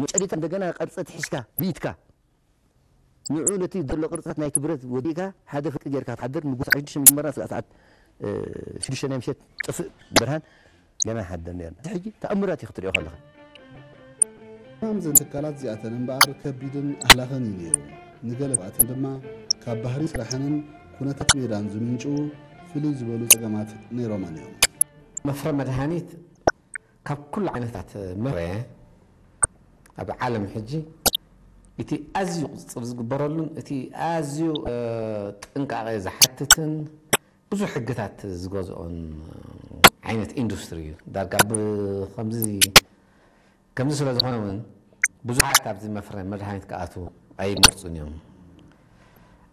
መጨሊታ እንደገና ቅርፂ ትሒዝካ ብኢድካ ንዑ ነቲ ዘሎ ቅርፅታት ናይቲ ብረት ወዲእካ ሓደ ፍርቂ ጌርካ ትሓድር። ንጉስ ዓሽዱሽተ መጀመርያ ስለ ሰዓት ሽዱሽተ ናይ ምሸት ጥፍእ ብርሃን ገና ይሓድር ነርና። ሕጂ ተኣምራት እዩ ክትሪኦ ከለኻ። ሕማም ዘን ትካላት እዚኣተን እምበኣር ከቢድን ኣህላኽን እዩ ነይሩ። ንገለ ኣትን ድማ ካብ ባህሪ ስራሕንን ኩነታት ሜዳን ዝምንጭው ፍልይ ዝበሉ ጸገማት ነይሮመን እዮም። መፍረ መድሃኒት ካብ ኩሉ ዓይነታት መፍረ ኣብ ዓለም ሕጂ እቲ ኣዝዩ ቁፅፅር ዝግበረሉን እቲ ኣዝዩ ጥንቃቄ ዝሓትትን ብዙሕ ሕግታት ዝገዝኦን ዓይነት ኢንዱስትሪ እዩ። ዳርጋ ብከምዚ ከምዚ ስለ ዝኾነ እውን ብዙሓት ኣብዚ መፍረ መድሃኒት ክኣትዉ ኣይመርፁን እዮም።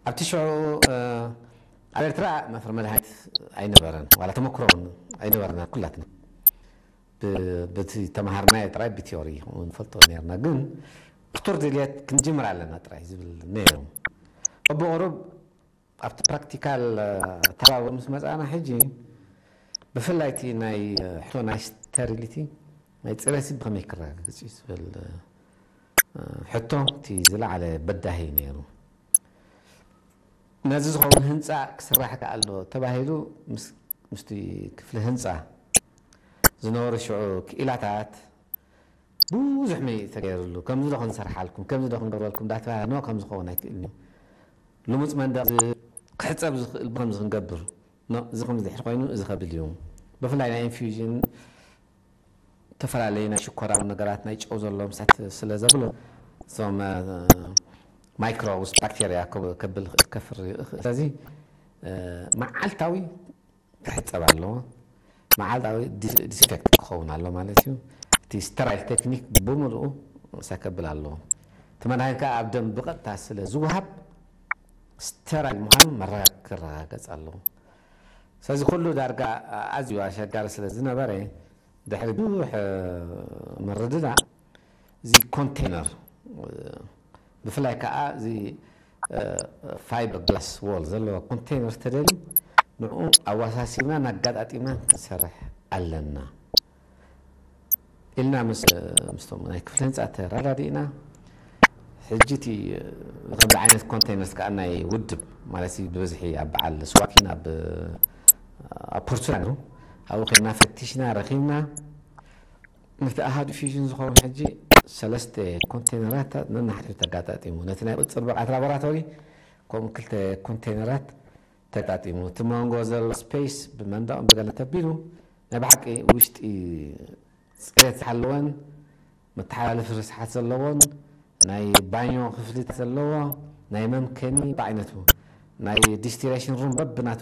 ኣብቲ ሽዑ ኣብ ኤርትራ መፍረ መድሃኒት ኣይነበረን፣ ዋላ ተመክሮ እውን ኣይነበረና ኩላትና። በቲ ተምሃርናዮ ጥራይ ብቲዮሪ ንፈልጦ ነርና፣ ግን ብቱር ድልየት ክንጅምር ኣለና ጥራይ ዝብል ነይሩ። ብቁሩብ ኣብቲ ፕራክቲካል ተባብር ምስ መፃና ሕጂ ብፍላይ እቲ ናይ ሕቶ ናይ ስተሪሊቲ ናይ ፅሬት ብከመይ ክረጋገፅ እዩ ዝብል ሕቶ እቲ ዝለዓለ በዳሂ ነይሩ። ነዚ ዝኸውን ህንፃ ክስራሕ ከኣሎ ተባሂሉ ምስቲ ክፍሊ ህንፃ ዝነበሩ ሽዑ ክኢላታት ብዙሕ መይ ተገይርሉ። ከምዚ ዶ ክንሰርሓልኩም፣ ከምዚ ዶ ክንገብረልኩም እንዳተባሃለ ኖ፣ ከምዚ ክኸውን ኣይክእልን እዩ። ልሙፅ መንደቕ ክሕፀብ ዝኽእል ብከምዚ ክንገብር ኖ፣ እዚ ከምዚ ድሕር ኮይኑ እዚ ከብል እዩ። ብፍላይ ናይ ኢንፊውዥን ዝተፈላለዩ ናይ ሽኮራዊ ነገራት ናይ ጨው ዘለዎም ሳት ስለ ዘብሎ እዞም ማይክሮብስ ባክቴርያ ከብል ክእል ከፍር ይኽእል። ስለዚ መዓልታዊ ክሕፀብ ኣለዎ። መዓልታዊ ዲስኢንፌክት ክኸውን ኣሎ ማለት እዩ። እቲ ስተራይል ቴክኒክ ብምልኡ ሰከብል ኣለዎ። እቲ መድሃኒት ከዓ ኣብ ደም ብቐጥታ ስለ ዝወሃብ ስተራይል ምዃኑ መረጋ ክረጋገፅ ኣለዎ። ስለዚ ኩሉ ዳርጋ ኣዝዩ ኣሸጋሪ ስለ ዝነበረ ድሕሪ ብዙሕ ምርድዳእ እዚ ኮንቴነር ብፍላይ ከዓ እዚ ፋይበር ግላስ ዎል ዘለዎ ኮንቴነር ተደልዩ ንኡ ኣወሳሲብና ናጋጣጢምና ክንሰርሕ ኣለና ኢልና ምስቶም ናይ ክፍሊ ህንፃ ተረዳዲእና። ሕጂ እቲ ከምዚ ዓይነት ኮንቴነርስ ከዓ ናይ ውድብ ማለት ብብዝሒ ኣብ በዓል ስዋኪን ኣብ ፖርቹና ነሩ ኣብኡ ከና ፈቲሽና ረኺብና። ነቲ ኣሃዱ ፊዥን ዝኸውን ሕጂ ሰለስተ ኮንቴነራት ነናሓድሕዱ ተጋጣጢሙ ነቲ ናይ ቁፅር ብቕዓት ላቦራቶሪ ከምኡ ክልተ ኮንቴነራት ተጋጢሙ እቲ መንጎ ዘሎ ስፔስ ብመንደቕ ብገለ ተቢሉ ናይ ብሓቂ ውሽጢ ፅሬት ዝሓለወን መተሓላለፊ ርስሓት ዘለዎን ናይ ባኞ ክፍልታት ዘለዎ ናይ መምከኒ ብዓይነቱ ናይ ዲስቲሌሽን ሩም በብናቱ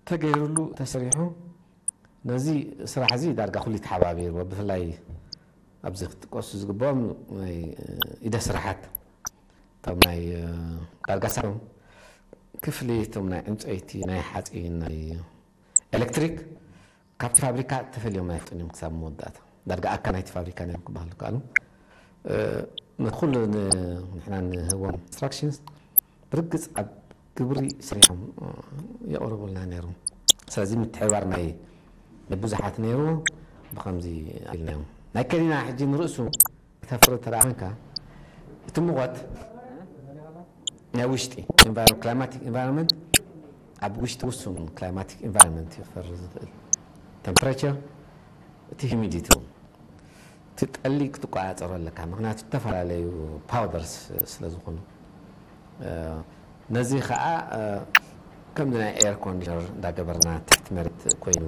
ተገይሩሉ ተሰሪሑ። ነዚ ስራሕ እዚ ዳርጋ ኩሉ ተሓባቢርዎ ብፍላይ ኣብዚ ክትጥቀሱ ዝግብኦም ናይ ኢደ ስራሓት እቶም ናይ ዳርጋ ሳሮም ክፍሊ እቶም ናይ ዕንፀይቲ ናይ ሓፂን ናይ ኤሌክትሪክ ካብቲ ፋብሪካ ተፈልዮም ኣይፍጡን እዮም ክሳብ መወዳእታ ዳርጋ ኣካ ናይቲ ፋብሪካ ነም ክበሃሉ ከኣሉ ንኩሉ ንሕና ንህቦም ኢንስትራክሽንስ ብርግፅ ኣብ ግብሪ ሰሪሖም የቕርቡልና ነይሮም። ስለዚ ምትሕባር ናይ ብዙሓት ነይሩ። ብከምዚ ኢልናዮም ናይ ከኒና ሕጂ ንርእሱ ተፍሪ ተደኣ ኮንካ እቲ ሙቐት ናይ ውሽጢ climatic environment ኣብ ውሽጢ ውሱን climatic environment ይፈሪ ዝኽእል temperature እቲ humidity እውን እቲ ጠሊ ክትቆፃፀሮ ኣለካ ምክንያቱ ዝተፈላለዩ powders ስለ ዝኾኑ ነዚ ከዓ ከምዚ ናይ air conditioner እንዳገበርና ትሕቲ መሬት ኮይኑ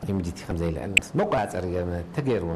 humidity ከምዘይልዕል መቆፃፀሪ ገርመ ተገይርዎ